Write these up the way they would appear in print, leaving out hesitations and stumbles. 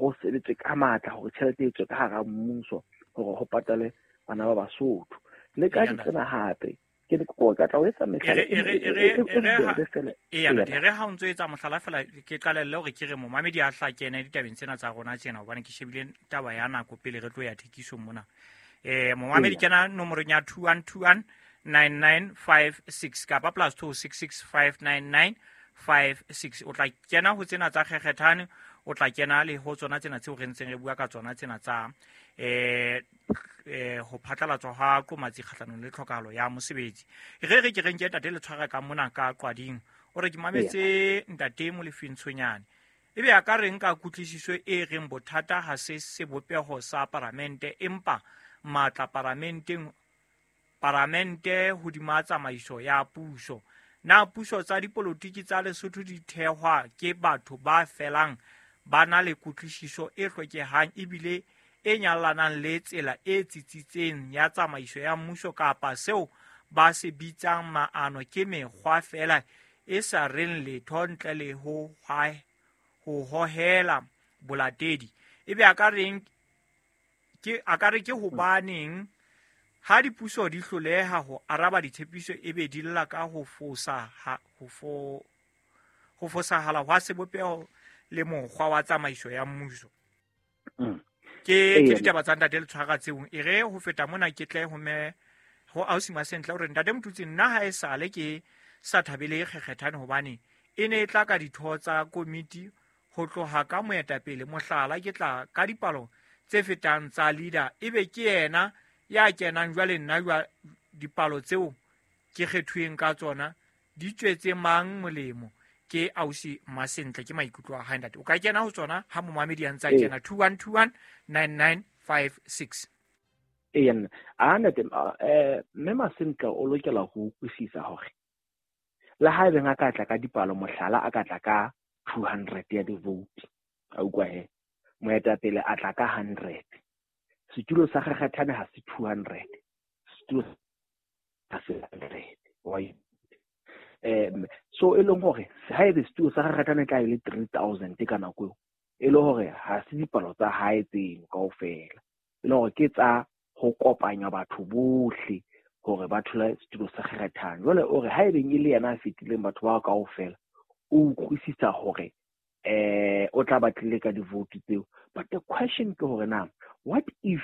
ho sebetswe ka matla hore tjhelete e tswe ka hara mmuso hore ho patale bana ba Basotho. Le ka ditsena hape ke ne ke ka tla o etsa mehlala e re ha o ntso etsa mohlala fela ke qalelle hore ke re momamedi a hla kene ditabeng tsena tsa rona tjena hobane ke shebile taba ya nako pele re tlo ya thekisong mona. Momamedi kena nomorong ya 2121 9956 kapa plus 26659956. O tla kena ho tsena tsa kgekgethane, o tla kena le ho tsona tsena tseo re ntseng re bua ka tsona tsena tsa ho phatlalatswa ha qomatsi kgahlanong le tlhokahalo ya mosebetsi. Re re ke re nke ntate le tshwara ka mona ka Qwading, o re ke mametse ntate Molefi Ntshonyane. Ebe a ka reng ka kutlwisiso e reng bothata ha se sebopeho sa paramente empa matla paramente hodima tsamaiso ya puso. Na puso tsa dipolotiki tsa Lesotho di thehwa ke batho ba felang ba na le kutlwisiso e hlokehang ebile e nyallanang le tsela e tsitsitseng ya tsamaiso ya mmuso, kapa seo ba se bitsang maano ke mekgwa fela e sa reng letho ntle le ho hohela bolatedi? Ebe a ka reng ke a ka re ke hobaneng ha dipuso di hloleha ho araba ditshepiso ebe di lla ka ho fosahala hwa sebopeho le mokgwa wa tsamaiso ya mmuso? Ke ditaba tsa ntate le tshwara tseo. E re ho feta mona ke tle ho me ho ausi Masentle hore ntate Motutsi nna ha e sale ke sa thabele kgekgethane hobane e ne e tla ka ditho tsa komiti ho tloha ka moetapele. Mohlala ke tla ka dipalo tse fetang tsa leader ebe ke yena ya kenang jwale nna jwa dipalo tseo ke kgethuweng ka tsona di tswetse mang molemo? Ke ausi Masentle, ke maikutlo a hae ntate. O ka kena ho tsona ha momamedi a ntse a kena 2121 9956. Eya, a ntate mme Masentle o lokela ho utlwisisa hore le ha ebe a ka tla ka dipalo, mohlala a ka tla ka 200 ya di-vote, a utlwa he moetapele a tla ka 100, setulo sa kgekgethane ha se 200, setulo ha se 100. Wa so e leng hore ha ebe setulo sa kgekgethane tla e le 3000 ka nako eo, e le hore ha se dipalo tsa hae tseno kaofela, e le hore ke tsa ho kopanya batho bohle hore ba thole setulo sa kgekgethane. Jwale o re ha ebeng e le yena a fetileng batho bao kaofela, o utlwisisa hore o tla batlile ka di-vote tseo. But the question ke hore na what if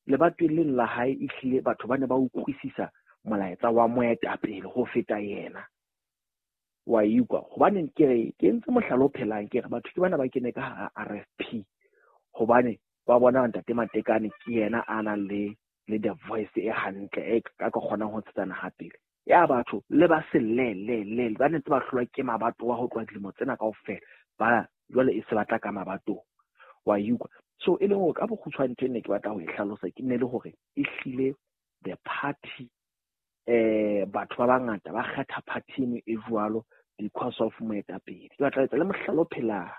lebatoweng la hae ehlile batho ba ne ba utlwisisa molaetsa wa moetapele ho feta yena? Wa ikwa hobane ke re ke entse mohlala o phelang, ke re batho ke bana ba kene ka hara RFP hobane ba bona ntate Matekane ke yena a nang le the voice e hantle e ka kgonang ho ntshetsa naha pele. Ya batho le ba selelele ba ne tse ba hlolwa ke mabatowa ho tloha dilemo tsena kaofela, ba jwale e se batla ka mabatong. Wa ikwa. So e leng hore ka bokgutshwane ntho e ne ke batla ho e hlalosa ke ne le hore ehlile the party batho ba bangata ba kgetha party eno e jwalo because of moetapele. Ke batla etsa le mohlala o phelang.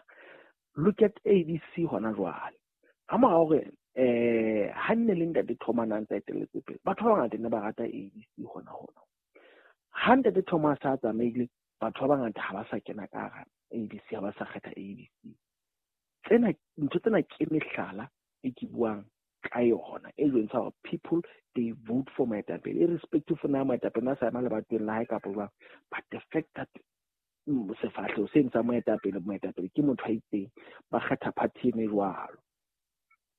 Look at ABC hona jwale. Ka mora hore ha nne le ntate Thomas a ntse a etelletse pele, batho ba bangata ne ba rata ABC hona hona. Ha ntate Thomas a tsamaile, batho ba bangata ha ba sa kena ka hara ABC, ha ba sa kgetha ABC. Tsena ntho tsena ke mehlala e ke buang ka yona e jwentsha hore people they vote for moetapele irrespective na moetapele na sa ema lebatoweng la hae kapa jwang. But the fact that sefahleho se sa moetapele ke motho a itseng, ba kgetha party eno e jwalo.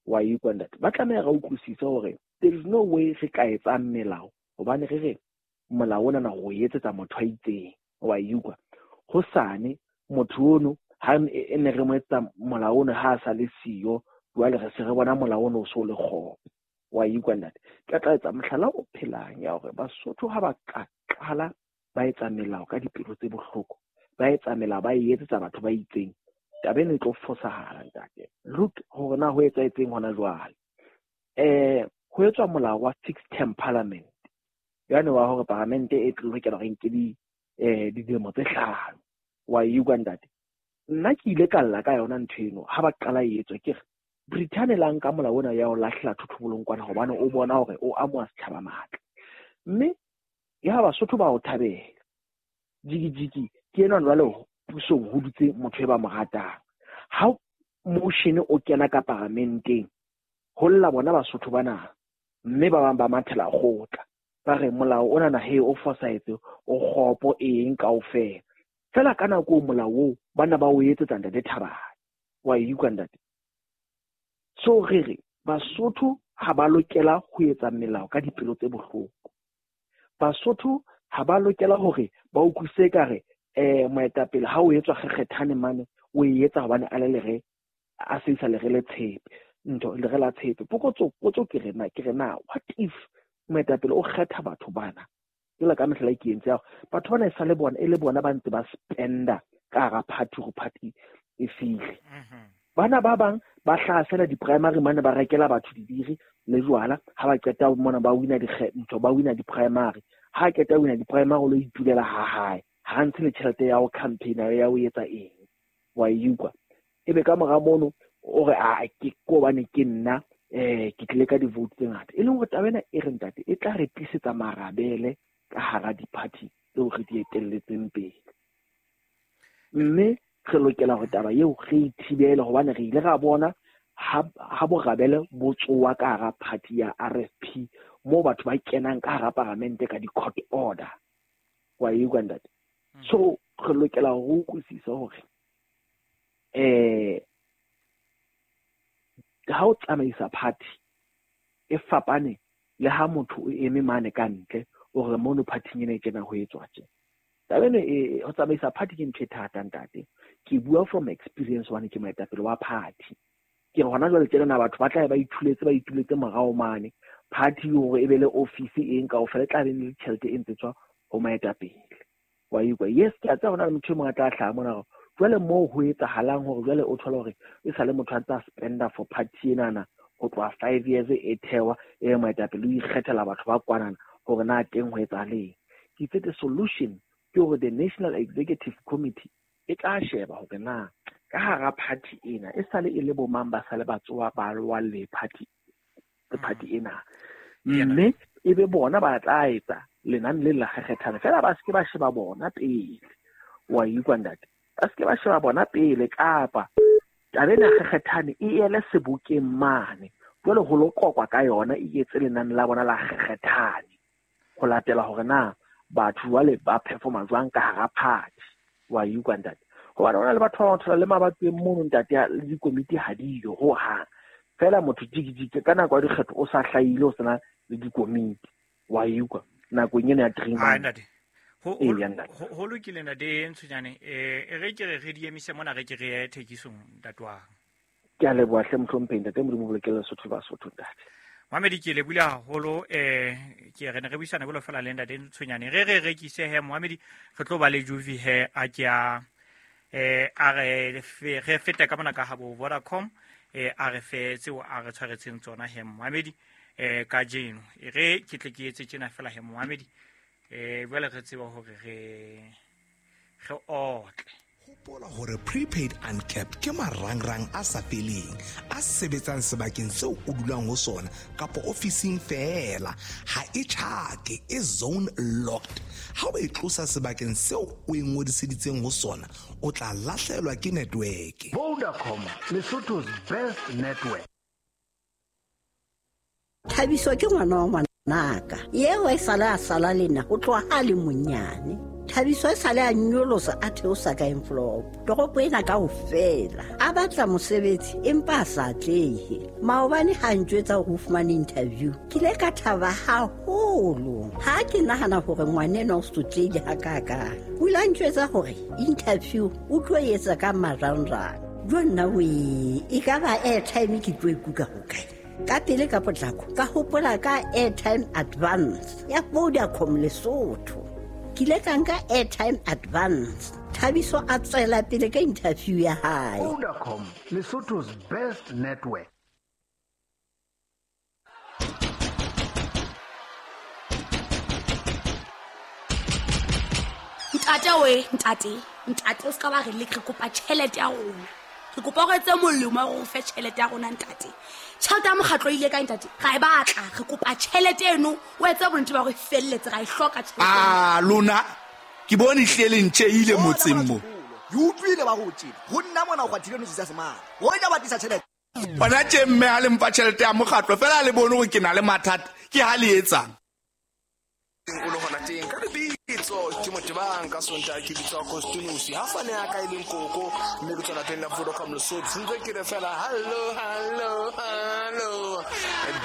Wa ikwa ntate, ba tlameha re utlwisise hore there is no way re ka etsang melao hobane re re molao ona na ho etsetsa motho a itseng. Wa ikwa hosane motho ono ha e ne re mo etsa molao ono ha a sa le siyo, jwale re se re bona molao ono o so le kgopo. Wa ikwa ntate, ke tla etsa mohlala o phelang ya hore Basotho ha ba ka qala ba etsa melao ka dipelo tse bohloko, ba etsa melao ba e etsetsa batho ba itseng, taba eno e tlo fosahala ntate. Look hore na ho etsahetseng hona jwale. Ho etswa molao wa fixed term parliament, yane wa hore paramente e tlo lokela hore nke dilemo tse 5. Wa ikwa ntate, nna ke ile ka lla ka yona ntho eno ha ba qala e etswa. Ke re Britain la nka molao ona ya ho lahlela thothobolong kwana hobane o bona hore o amoha setjhaba matla, mme ya Basotho ba o thabela. Jiki jiki ke enwa jwale pusong ho dutse motho e ba mo ratang. Ha motion o kena ka paramenteng ho lla bona Basotho bana mme ba bang ba mathela kgotla ba re molao ona na he o fosahetse o kgopo eng kaofela. Fela ka nako molao oo bana ba o etsetsa Ntate Thabane. Wa e utlwa ntate? So re re Basotho ha ba lokela ho etsa melao ka dipelo tse bohloko. Basotho ha ba lokela hore ba utlwise ekare moetapele ha o etswa kgekgethane mane o e etsa hobane a le lere a sebedisa lere le tshepe ntho lere la tshepe. Potso ke re na what if moetapele o kgetha batho bana jwalo ka mehlala e ke entse ya hore batho bana e sa le bona e le bona ba ntse ba spenda ka hara party hore party e fihle. Bana ba bang ba hlaha fela di-primary mane ba rekela batho dibiri le jwala ha ba qeta mona ba wina ntho ba wina di-primary. Ha qeta wina di-primary o lo itulela ha hae ha ntshe le tjhelete ya ho campaign ya ho etsa eng wa e utlwa. Ebe ka mora mono o re a ke ko hobane ke nna ke tlile ka di-vote tse ngata. E leng hore taba ena e re ntate e tla re tlisetsa marabele ka hara di-party tseo re di etelletseng pele. Mme re lokela hore taba eo re e thibele hobane re ile ra bona ha borabele bo tsoa ka hara party ya RFP moo batho ba kenang ka hara paramente ka di-court order. Wa e utlwa ntate? So re lokela ho utlwisisa hore ha o tsamaisa party e fapane le ha motho o eme mane ka ntle o re mono party ena e kena ho etswa tje. Taba ena e ho tsamaisa party ke ntho e thata ntate. Ke bua from experience hobane ke moetapele wa party. Ke re hona jwale tjena batho ba tla ba ituletse morao mane party hore e be le office eng kaofela e tla be le tjhelete e ntse tswa ho moetapele. Wa utlwa? Yes, ke a tseba hona le motho e mong a tla hlaha mona hore jwale moo ho etsahalang hore jwale o thola hore e sa le motho a ntsa spenda for party enana ho tloha 5 years e thewa e moetapele o ikgethela batho ba kwanana hore na teng ho etsahaleng. Ke itse the solution ke hore the National Executive Committee e tla sheba hore na ka hara party ena e sale e le bomang ba sale ba tsoa ba lwa le party ena mme e be bona ba tla etsa lenane le la kgethana fela ba se ke ba sheba bona pele. Wa utlwa ntate? Ba se ke ba sheba bona pele kapa taba ena kgethane e ele sebokeng mane jwale ho lo qoqwa ka yona e etse lenane la bona la kgethane ho latela hore na batho jwale ba performa jwang ka hara party. Wa utlwa ntate? Hobane hona le batho ba thola le mabateng mono ntate le dikomiti ha diyo ho hang fela motho jikijiki ka nako ya dikgetho o sa hlahile o sena le dikomiti. Wa utlwa nakong ena ya 3 months. Ho lokile ntate Ntshonyane e re ke re di emise mona re ke re thekisong ntate wa. Ke a leboha hle mohlomphehi ntate, Modimo bolokele Lesotho ba Sotho ntate. Mamedi ke le bula haholo ke re ne re buisana bolo fela le ntate Ntshonyane re re rekise he Mohamedi re tlo ba le Juvi he a ke a a re re feta ka mona ka ha bo Vodacom a re fe tseo a re tshwaretseng tsona he Mohamedi ka jeno e re ke tle ke etse tjena fela he Mohamedi jwale re tseba hore re otle. Hopola hore prepaid uncapped ke marangrang a sa feleng a sebetsang sebakeng seo o dulang ho sona kapa ofising feela. Ha e tjhake, e zone locked. Ha o e tlosa sebakeng seo o e ngodiseditseng ho sona, o tla lahlehelwa ke network. Vodacom, Lesotho's best network. Thabiso ke ngwana wa ngwanaka eo e sale a sala le nna ho tloha ha le monyane. Thabiso e sale a nyolosa a theosa ka envelope toropo ena kaofela. A batla mosebetsi empa a sa atlehe. Maobane ha ntjwetsa hore o fumane interview, ke ile ka thaba haholo. Ha ke nahana hore ngwanenwa o sotlehile hakakang. O ile a ntjwetsa hore interview o tlo etsa ka marangrang. Jo nna we, e ka ba airtime ke tlo e kuka hokae? Ka pele ka potlako ka hopola ka airtime advance ya Vodacom Lesotho. Ke ile ka nka airtime advance. Thabiso a tswela pele ka interview ya hae. Vodacom, Lesotho's best network. Ntate we, ntate o ska ba re le re kopa tjhelete ya rona. Re kopa hore tse molemo hore o fe tjhelete ya rona ntate. Tjhelete ya mokgatlo ile kae ntate? Ra e batla, re kopa tjhelete eno, o etse bonnete ba hore e felletse, ra e hloka tjhelete. Ah, lona ke bone hlele ntjehile motseng mo. Ke utlwile ba go tjena. Ho nna mona o kgwathile notsi tsa semane. O ja batlisa tjhelete. Bona tje mme ha le mpa tjhelete ya mokgatlo fela le bone hore ke na le mathata ke ha le etsang. O le hona teng ka lebitso ke Motebang ka Sontaha ke bitswa Costunusi ha fane ya ka e leng koko mme ke tswa lapeng la Vodacom Lesotho sentse ke re fela hallo hallo hallo.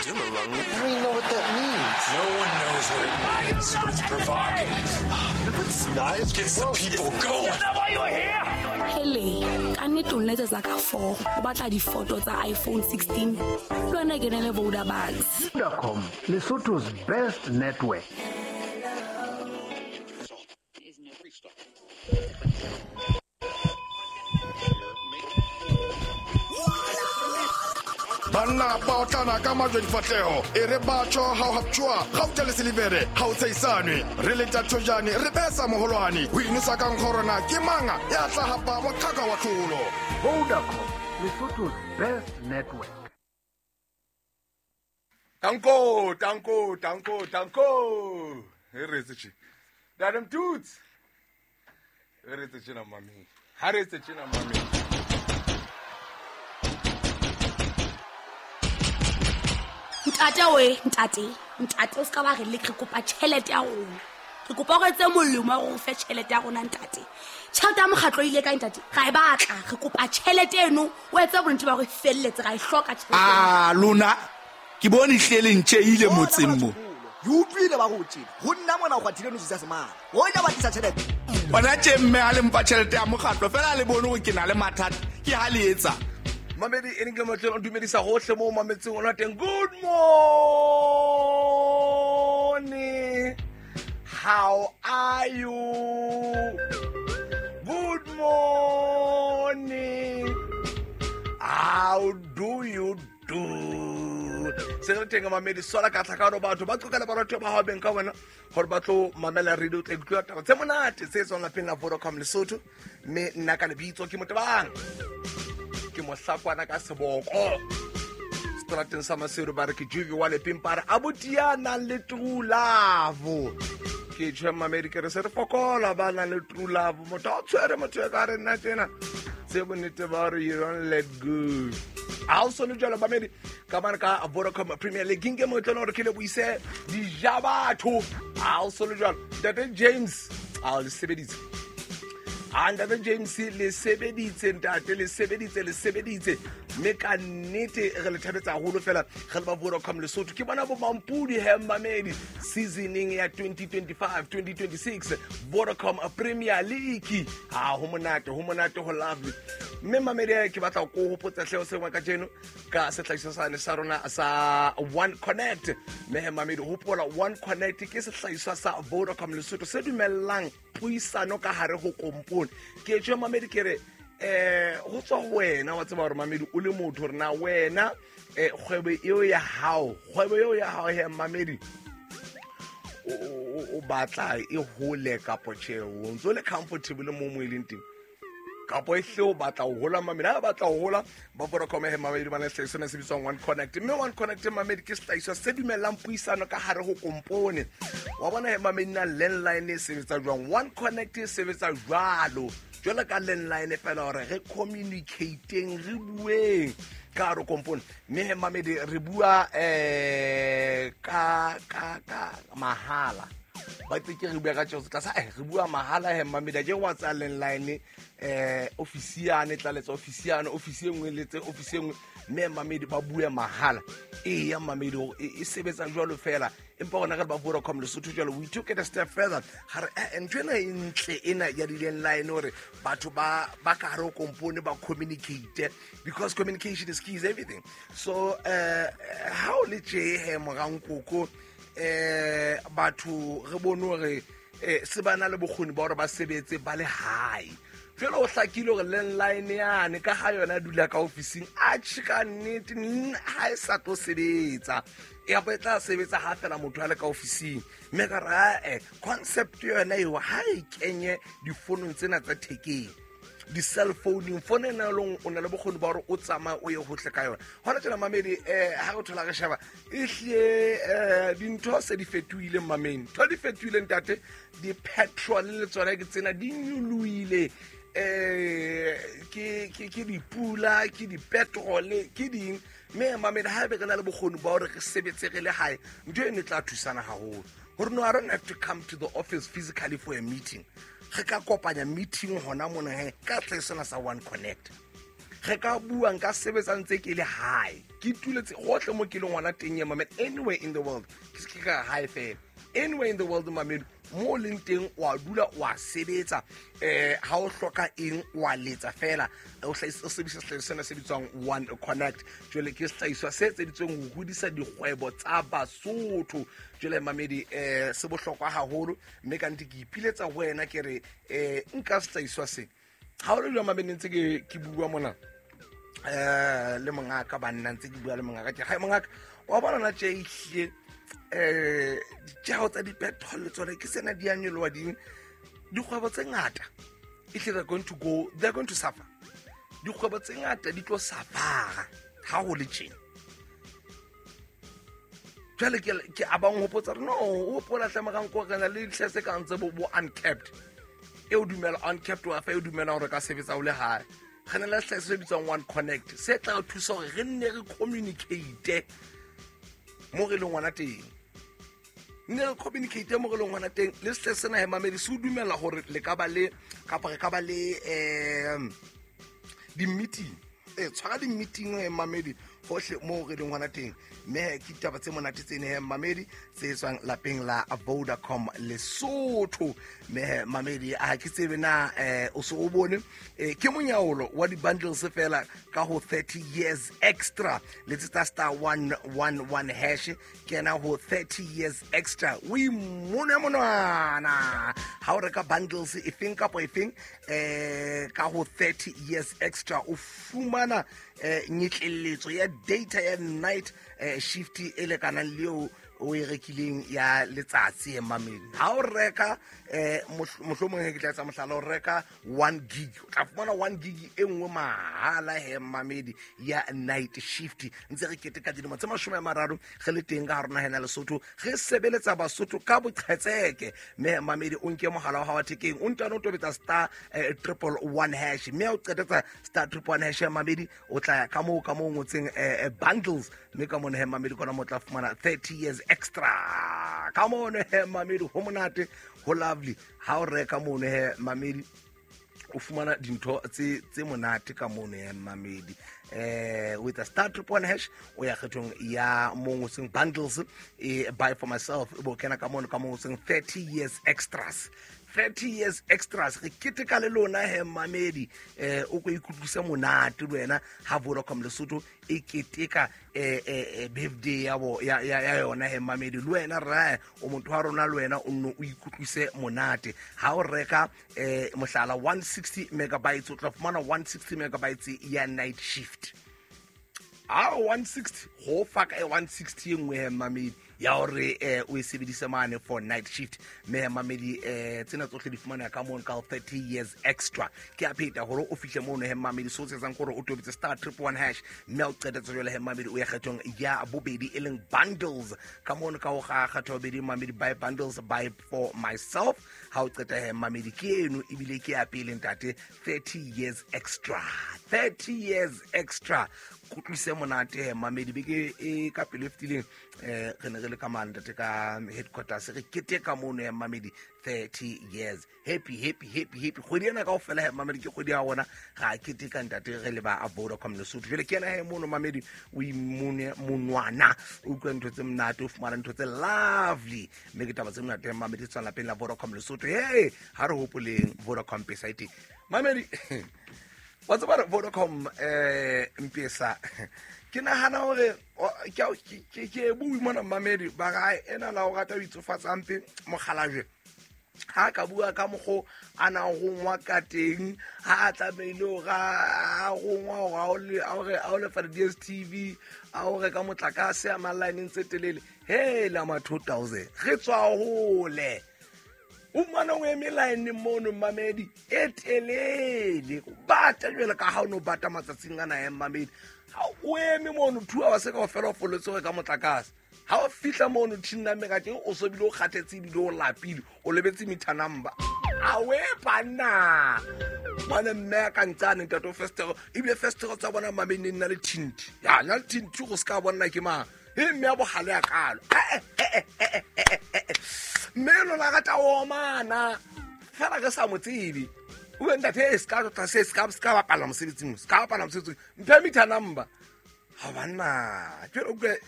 Dumelang. I don't even know what that means. No one knows what it means, but it's provocative. It's nice. Gets the people going. Is that why you're here? Hele, ka nnete o nletsetsa ka 4 o batla difoto tsa iPhone 16 le wena kenele Vodabucks. Vodacom, Lesotho's best network. Banna ba otlana ka majwe difahleho e re batjho ha o haptjwa gauta le silivere ha o tseisanwe re le tathojane re besa moholwane ho inosa ka nkgorona ke manga ya tla hapa moqhaka wa tlholo. Vodacom, Lesotho's best network. Tanko tanko tanko tanko e re tse tje Dadam Toots e re tse tjena mami ha re tse tjena mami. Ntate we, ntate, ntate o ska ba re le re kopa tjhelete ya rona. Re kopa hore etse molemo wa hore fe tjhelete ya rona ntate. Tjhelete ya mokgatlo ile kae ntate? Ra e batla, re kopa tjhelete eno, o etse bonnete ba hore felletse ra e hloka tjhelete. Ah lona ke bone hlele ntje ile motseng mo. Ke utlwile ba go tjena. Ho nna mona o kgwathile notsi tsa semane. O ja batlisa tjhelete. Bona tje mme ha le mpa tjhelete ya mokgatlo fela le bone hore ke na le mathata ke ha le etsa. Mamedi e nke motleng o dumedisa hohle mo mametseng ona teng. Good morning. How are you? Good morning. How do you do? Se re teng mamedi sola ka tlhakano batho ba tlokela ba batho ba ha beng ka bona hore ba tlo mamela radio tla utlwa taba tse monate tse tswang lapeng la Vodacom Lesotho mme nna ka lebitso ke Motebang. Ke mohlakwana ka seboko strateng sa Maseru ba re ke Juvi wa Lepimpara abuti ya nang le true love. Ke tjhe mamedi ke re se re fokola ba nang le true love motho o tshwere motho e ka re nna tjena tse bonnete ba re you don't let go. A o sone jalo mamedi ka bana ka Vodacom Premier League nke motlong hore ke le buise dija batho. A o sone jalo Ntate James a le sebeditse. Ntate James le sebeditse ntate le sebeditse le sebeditse mme ka nnete re le thabetsa haholo fela re le ba Vodacom Lesotho ke bona bo Mampudi he mamedi seasoning ya 2025-2026 Vodacom Premier League. Ha ho monate ho monate ho lovely mme mamedi ke batla go hopotsa hleo sengwe ka jeno ka sehlahiswa sane sa rona sa One Connect mme he mamedi hopola One Connect ke sehlahiswa sa Vodacom Lesotho se dumellang puisano ka hare ho kompone. Ke tjho mamedi ke re ho tswa ho wena wa tseba hore mamedi o le motho hore na wena kgwebo eo ya hao kgwebo eo ya hao he mamedi o batla e hole kapo tjhe o ntso le comfortable mo mo e leng teng kapo e hle o batla ho hola mamedi ha batla ho hola ba Vodacom he mamedi ba le sehlahisa se bitswang One Connect mme One Connect mamedi ke sehlahiswa se dumellang puisano ka hare ho kompone wa bona he mamedi na landline e sebetsa jwang. One Connect e sebetsa jwalo jwalo ka landline fela hore re communicateng re bueng ka hare kompone mme he mamedi re bua ka ka ka mahala ba tse ke re bua ka tjeo tlasa re bua mahala he mamedi ke wa tsa landline office yane tlaletsa office yane office e nngwe letse office e nngwe mme mamedi ba bua mahala e ya mamedi e sebetsa jwalo fela empa rona re ba Vodacom Lesotho jwalo we took it a step further ha re ntho ena e ntle ena ya di-landline hore batho ba ka hare ho kompone ba communicate because communication is key is everything. So ha o le tje he morankoko batho re bone hore se ba na le bokgoni ba hore ba sebetse ba le hae jwale o hlakile hore landline yane ka ha yona dula ka ofising a tjhe ka nnete ha e sa tlo sebetsa ya bo tla sebetsa ha fela motho a le ka ofising mme ka ra concept yona eo ha e kenye difonong tsena tsa thekeng di-cell phone phone ena long o na le bokgoni ba hore o tsamaya o ye hohle ka yona. Hona tjena mamedi ha o thola re sheba e hlile dintho se di fetohile mamedi ntho di fetohile ntate di-petrol le tsona ke tsena di nyolohile Ke dipula, ke dipetrole, ke ding. Mme mamedi, ha ebe re na le bokgoni ba hore re sebetse re le hae, ntho eno e tla thusana haholo. Hore no, I don't have to come to the office physically for a meeting. Re ka kopanya meeting hona mona he ka sena sa One Connect. Re ka bua, nka sebetsa ntse ke le hae, ke tuletse gotlhe mo ke leng gona teng ya mamedi, anywhere in the world. Ke se ke ka hae fela, anywhere in the world mamedi, mo o leng teng wa dula wa sebetsa. Ha o hloka eng, wa letsa fela, o sebedisa sehlahiswa sena se bitswang One Connect. Jwale ke sehlahiswa se etseditsweng ho hodisa dikgwebo tsa Basotho. Jwale mamedi, se bohlokwa haholo, mme ka nnete ke ipiletsa ho wena, ke re nka sehlahiswa se. Ha o le jwa mamedi, ntse ke bua mona le mongaka, banna, ntse ke bua le mongaka, ke ga mongaka wa bona na tje ehlile ditjeho tsa di-petrol le tsone ke sena di a nyoloha, ding dikgwebo tse ngata ehlile they're going to suffer. Dikgwebo tse ngata di tlo suffera ha ho le tjena. Jwale ke a bang hopotsa re no o hopola hle moranko, re na le ditlhe tse kang tse bo uncapped, e o dumela uncapped Wi-Fi, e o dumela hore ka sebetsa o le hae. Re na le sehlahiswa se bitswang One Connect, se tla re thusa hore re nne re communicate mo re leng hona teng, nne re communicate mo re leng hona teng. Le sehle sena he mamedi se o dumela hore le ka ba le, kapa re ka ba le di-meeting, tshwara di-meeting he mamedi hohle mo re leng hona teng. Mme ke ditaba tse monate tsene he mamedi tse tswang lapeng la Vodacom Lesotho. Mme mamedi, a ke tsebe na o se o bone, ke monyaolo wa di-bundles fela ka ho 30 years extra. Letsetsa star 111 hash, kena ho 30 years extra, o imone monwana ha o reka bundles efeng kapa efeng ka ho 30 years extra, o fumana nyetlelletso ya data ya night shift e lekanang le eo o e rekileng ya letsatsi. E mamedi, ha o reka mohlomong ke tla etsa mohlala, o reka 1 gig, o tla fumana 1 gig e nngwe mahala he mamedi ya night shift. Ntse re keteka dilemo tse 30 re le teng ka hare naha ya Lesotho, re sebeletsa Basotho ka boqhetseke. Mme mamedi, o nke mohala wa hao wa thekeng, o ntano tobetsa star 111 hash, mme o qetetsa star 111 hash ya mamedi, o tla ya ka moo ngotseng bundles, mme ka mona he mamedi kona mo tla fumana 30 years extra. Ka mono he mamedi ho monate, ho lovely. Ha o reka mono he mamedi, o fumana dintho tse monate ka mono he mamedi. With a star 111 hash, o ya kgethong ya mo ngotseng bundles, buy for myself, e bo kena ka mono ka mo ngotseng 30 years extras. 30 years extras, re keteka le lona he mamedi. O ko ikutlwisa monate le wena ha Vodacom Lesotho e keteka birthday ya bo ya yona he mamedi. Le wena ra o motho wa rona, le wena o nno o ikutlwise monate ha o reka mohlala 160 megabytes, o tla fumana 160 megabytes ya night shift. Ha 160 ho fa ka 160 e nngwe he mamedi ya hore o e sebedise mane for night shift. Mme mamedi, tsena tsohle di fumaneha ka mono ka 30 years extra. Ke a pheta hore o fihle mono he mamedi, so se etsang hore o tobetse star 111 hash, mme o qetetse jwale he mamedi o ya kgethong ya bobedi e leng bundles. Ka mono ka ho kgetho bobedi mamedi, buy bundles, buy for myself. Ha o qeta he mamedi, ke eno ebile ke ya pele ntate, 30 years extra, 30 years extra. Kutlwise monate he mamedi. Beke e ka pele e fetileng re ne re le ka mane ntate ka headquarters, re keteka mono ya mamedi 30 years. Happy happy happy happy. Kgwedi ena kaofela he mamedi ke kgwedi ya rona, ra keteka ntate re le ba Vodacom Lesotho. Jwale ke ena he mono mamedi, o imone monwana, o utlwa ntho tse monate, o fumana ntho tse lovely. Mme ke taba tse monate mamedi tse tswang lapeng la Vodacom Lesotho. Hey, ha re hopoleng Vodacom Pesa e teng mamedi. Wa tseba re Vodacom Mpesa, ke nahana hore ke bue mona mamedi ba ra ena la o rata ho itsofatsa mpe mokgalajwe. Ha ka bua ka mokgo a na rongwa ka teng, ha a tlamehile hore a rongwa hore a o lefa di-DStv, a o reka motlakase a malineng tse telele. He la ma 2000 re tswa hole. O fumana o eme line mono mamedi e telele, bata jwale ka ha o no bata matsatsing ana ya mamedi. Ha o eme mono 2 hours ka ofela o foletse ka motlakase. Ha o fihla mono thinna meka teng, o sobile o kgathetse ebile o lapile, o lebetse meter number. A we banna. Fumane mme ka ntsane ntate o festero ebile festero tsa bona mamedi nna le thinti ya nna le thinti go se ka bona ke mang e mme ya bogale ya kalo mme lona rata omana fela re sa mo tsebe o be ntate e se ka tota se se ka bapala mosebetsing se ka bapala mosebetsing mphe meter number ga banna ke re utlwe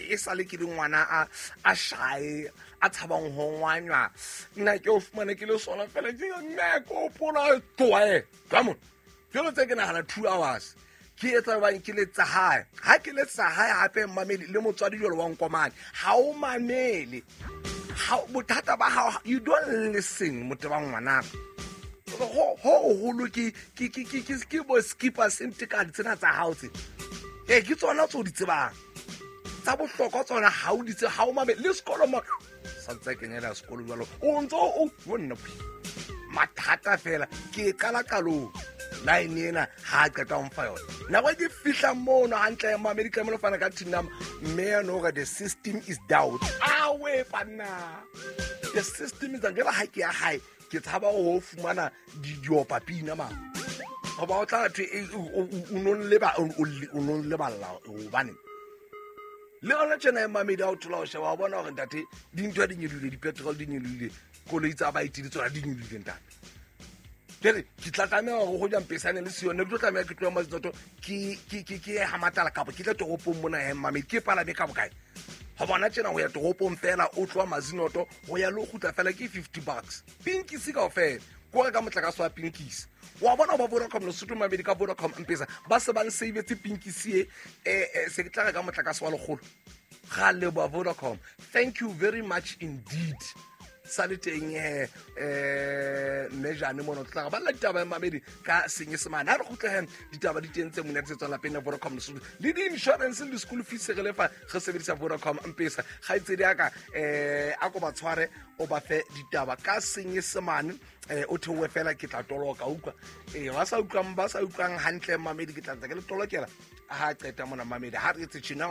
e sale ke le ngwana a shae a tshabang go ngwanywa nna ke o fumane ke le sona fela ke mme ko opola tloe ka mo jalo tse ke nagana 2 hours ke etsa bang ke letsa hae ha ke letsa hae hape mmameli le motswadi jalo wa nkomane ha o mamele ha bothata ba hao you don't listen motho ba ngwana ho holo ke bo skipper sentekane tsena tsa hao tse ee ke tsona tse o di tsebang tsa bohlokwa tsona ha o di tse ha o mamele le sekolo ma sa ntse kenyela sekolo jalo o ntse o nna mathata fela ke qala qalong line ena ha a qeta ho mfa yona nako e ke fihla mono hantle mamedi tlamehile ho fana ka tin number mme yane hore the system is down awe banna the system is down jwale ha ke ya hae ke tshaba ho fumana diopapina mang goba o tla thwe o no leballa hobane le yona tjena e mamedi ha o thola ho sheba wa bona hore ntate dintho di nyolohile di-petrol di nyolohile koloi tsa baeti di tsona di nyolohile ntate jale ke tla tlameha hore go jampesane le seyone ke tlo tlameha ke tloya matsotso ke ye hamatala kapa ke tle toropong mona he mamedi ke palame ka bokae go bona tjena ho ya toropong fela o tloha Mazinoto ho ya le ho kgutla fela ke $50 pinkisi kaofela ko reka motlakase wa pinkisi wa bona ba Vodacom Lesotho mamedi ka Vodacom M-Pesa ba se ba nsavetse pinkisi e se ke tla reka motlakase wa lekgolo ga leboha Vodacom thank you very much indeed sa le teng mme jane mono tla ba la ditaba mamedi ka senyesemane ha re kgutleheng ditaba di teng tse monate tse tswang lapeng la Vodacom Lesotho le di-insurance le di-school fees re lefa re sebedisa Vodacom M-Pesa kgaitsedi ya ka a ko ba tshware o ba fe ditaba ka senyesemane o theohe fela ke tla toloka utlwa ba sa utlwang hantle mamedi ke tla ntse ke le tolokela ha qeta mona mamedi ha re etse tjena.